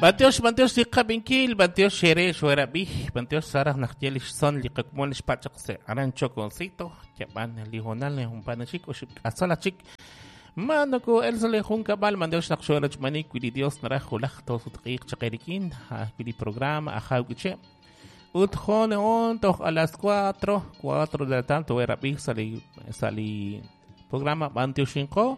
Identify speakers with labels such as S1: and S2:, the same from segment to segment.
S1: B'antiox, b'antiox li qab'inkil, b'antiox xere xwerab'i, b'antiox saraj naq ye lix son li qakmon lix pachaq se aran Choconcito, yab'an li honal jun chik oxib' k'asal chik. Manoko el sale jun kab'al b'antiox naq xwerachmanik wi li Dios naraj julaj tosutq'iiq chaqerikin, wi li programa ajaw k'iche'. Ut joneon toj a las 4, 4 de la tarde werab'i sa li programa b'antioxinqo.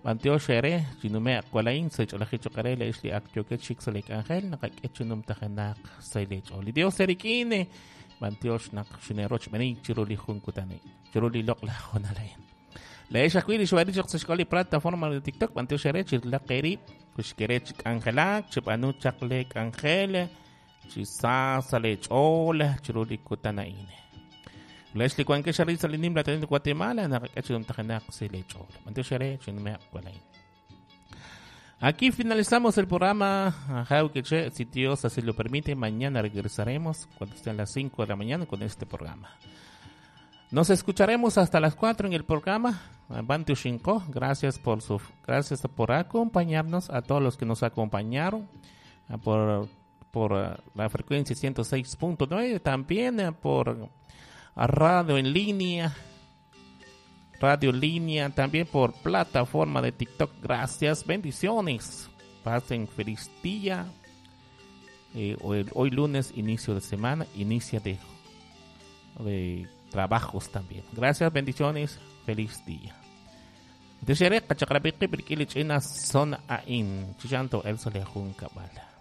S1: B'antiox ere chinume aqwalain sa ch'olaji choqare le ix li ak yoket xik sa li k'anjel naqak'e chinum tajenaq sa li ch'ool. Li Dios erik'in b'antiox naq xineroch b'enik chiru li jun kutani chiru li loq'laj jonalain. Le ix ajwi' li xwari chaq sa xk'ol li plataforma de TikTok b'antiox ere chirlaq erib' kuxkere chi k'anjelak chib'anu chaq le k'anjel chi sa sa le ch'ool chiru li kutan a'in. Lex li wanke xarit sa li nim la tenit Guatemala naqak'e chinum tajenaq sa le ch'ool. B'antiox ere chinume aqwalain. Aquí finalizamos el programa. Che, si Dios así lo permite, mañana regresaremos cuando estén las 5 de la mañana con este programa. Nos escucharemos hasta las 4 en el programa. Bantiox gracias gracias por acompañarnos, a todos los que nos acompañaron, por la frecuencia 106.9, también por radio en línea, radio en línea, también por plataforma de TikTok. Gracias, bendiciones. Pasen feliz día. Hoy lunes, inicio de semana, inicio de trabajos también. Gracias, bendiciones, feliz día. Desere kachaqrabiqi birkili ch'ina son a'in. Chichanto el solejun kabala.